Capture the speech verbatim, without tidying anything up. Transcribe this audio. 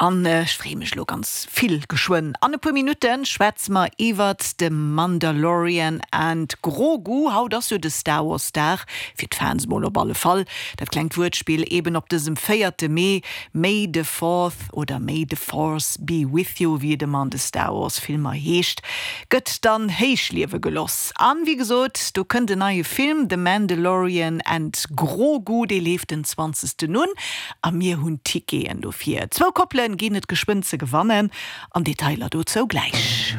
An ech freeë mech lo ganz vill. Geschwënn an e puer Minutte schwätze mer iwwert de Mandalorian and Grogu. Haut ass jo de Star Wars Dag, fir d'Fans mol op alle Fall. Dat klengt Wuertspill eben op dësem véierte Mee, May the Fourth oder May the Force be with you, wéi et ëmmer an de Star Wars Filmer heescht, gëtt dann héichliewe geloss. An wéi gesot, do kënnt en neie Film, The Mandalorian and Grogu, dee leeft den zwanzegsten un a mir hunn Ticketen dofir. Zwou Koppelen ginn et geschwënn ze gewannen, an Detailer dozou gläich.